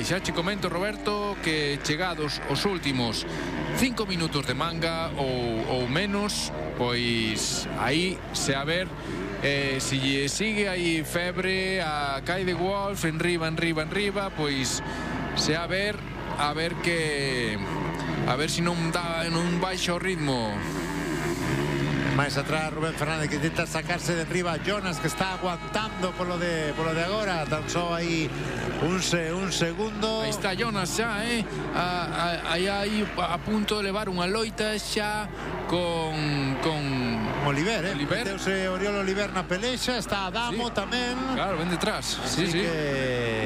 xa che comento, Roberto, que chegados os últimos 5 minutos de manga ou menos, pois aí se a ver se lle sigue aí febre a Kai de Wolf enriba, pois se a ver que a ver se non baixa o ritmo. Máis atrás Rubén Fernández, que intenta sacarse de arriba Jonas, que está aguantando por lo de agora, tan só aí un segundo. Aí está Jonas xa, aí a punto de levar unha loita xa con Oliver, meteuse Oriol Oliver na pelexa, está Adamo tamén. Claro, ven detrás. Sí.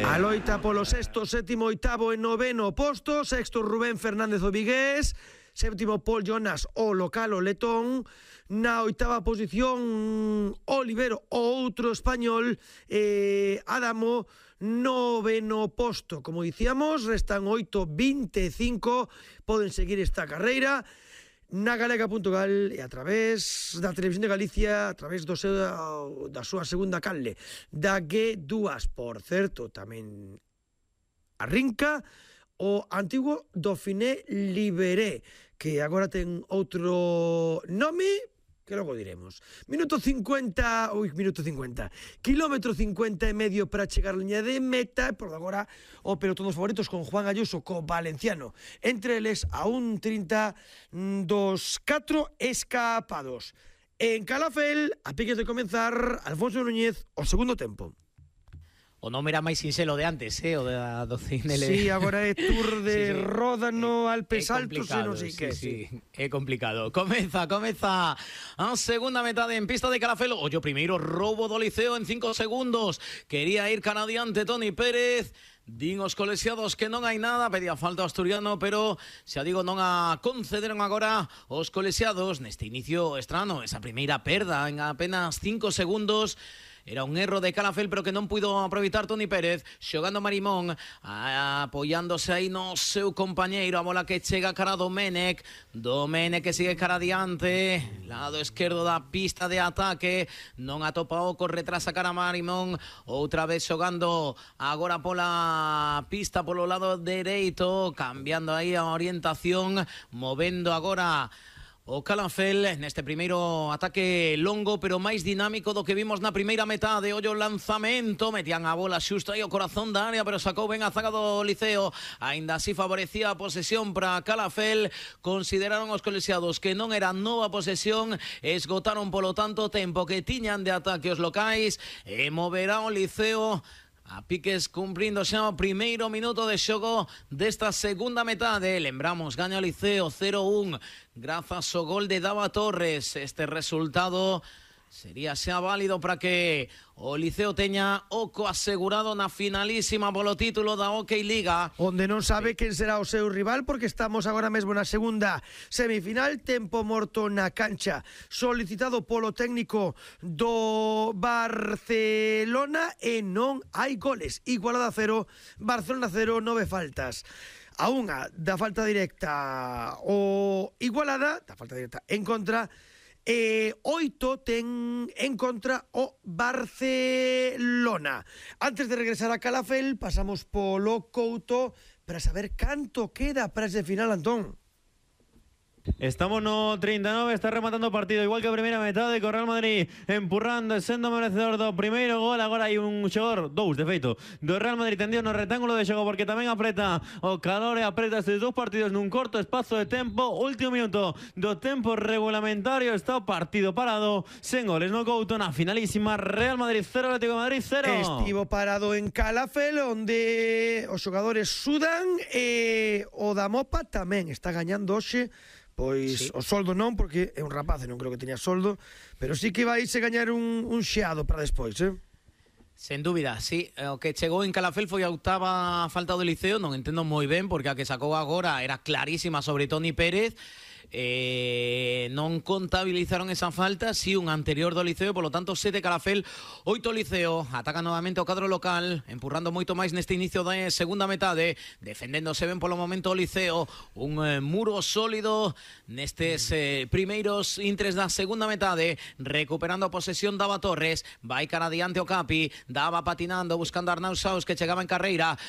A loita polo sexto, sétimo, oitavo e noveno posto. Sexto Rubén Fernández o vigués, séptimo Paul Jonas o local o letón. Na oitava posición Olivero, outro español, Adamo, noveno posto. Como dicíamos, restan 8:25, poden seguir esta carreira na galega.gal e a través da Televisión de Galicia, a través da súa segunda canle, da G2. Por certo, tamén arrinca o antigo Dauphiné Libéré, que agora ten outro nome que logo diremos. Minuto 50, kilómetro 50 e medio para chegar a liña de meta, e por agora o pelotón dos favoritos con Juan Ayuso, co valenciano entre eles a 1:30 dos 4 escapados. En Calafel, a piques de comenzar, Alfonso Núñez o segundo tempo. O nome era máis sinxelo de antes, o da Dauphiné. Sí, agora é Tour de Ródano, Alpes Altos e non sei que. Sí, é complicado. Comeza a segunda metade en pista de Calafel. Ollo primeiro roubo do Liceo en 5 segundos. Quería ir cara adiante Toni Pérez. Din os colexiados que non hai nada, pedía falta asturiano, pero xa digo, non a concederon agora os colexiados neste inicio estrano, esa primeira perda en apenas 5 segundos. Era un erro de Calafel, pero que non puido aproveitar Toni Pérez, xogando Marimón, apoiándose aí no seu compañeiro, a bola que chega cara a Domenech que sigue cara adiante, lado esquerdo da pista de ataque, non atopa o retrasa cara a Marimón, outra vez xogando agora pola pista polo lado dereito, cambiando aí a orientación, movendo agora o Calafel neste primeiro ataque longo pero máis dinámico do que vimos na primeira metade. Ollo lanzamento, metían a bola xusto aí ao corazón da área, pero sacou ben a zaga do Liceo. Aínda así favorecía a posesión para Calafel. Consideraron os colexiados que non era nova posesión, esgotaron polo tanto o tempo que tiñan de ataque os locais e moverá o Liceo a piques cumprindo xa o primeiro minuto de xogo desta segunda metade. Lembramos, gaña o Liceo 0-1 grazas ao gol de Dava Torres. Este resultado sería xa válido para que o Liceo teña oco asegurado na finalísima polo título da Hockey Liga, onde non sabe quen será o seu rival, porque estamos agora mesmo na segunda semifinal. Tempo morto na cancha solicitado polo técnico do Barcelona e non hai goles. Igualada 0, Barcelona 0, 9 faltas. A unha da falta directa o Igualada, da falta directa en contra, 8 ten en contra o Barcelona. Antes de regresar a Calafel, pasamos polo Couto para saber canto queda para ese final, Antón. Estamos no 39, está rematando o partido igual que a primeira metade, co Real Madrid empurrando e sendo merecedor do primeiro gol. Agora hai un xogador, dous de feito, do Real Madrid tendido no rectángulo de xogo, porque tamén apreta o calor e apreta estes dous partidos nun corto espazo de tempo. Último minuto do tempo regulamentario, está o partido parado sen goles no Couto na finalísima. Real Madrid 0, Atlético de Madrid 0. Estivo parado en Calafel, onde os xogadores sudan e o da Mopa tamén está gañando hoxe. Pois sí. O soldo non, porque é un rapaz e non creo que teña soldo, pero sí que vai se gañar un xeado para despois, Sen dúbida, sí. O que chegou en Calafel foi a octava falta do Liceo. Non entendo moi ben, porque a que sacou agora era clarísima sobre Toni Pérez. Non contabilizaron esa falta, si un anterior do Liceo, polo tanto 7 Calafel, 8 Liceo. Ataca novamente o cadro local, empurrando moito máis neste inicio da segunda metade, defendéndose ben polo momento o Liceo, un muro sólido nestes primeiros intres da segunda metade, recuperando a posesión Dava Torres, vai cara adiante o Capi, Dava patinando, buscando a Arnau Saus, que chegaba en carreira,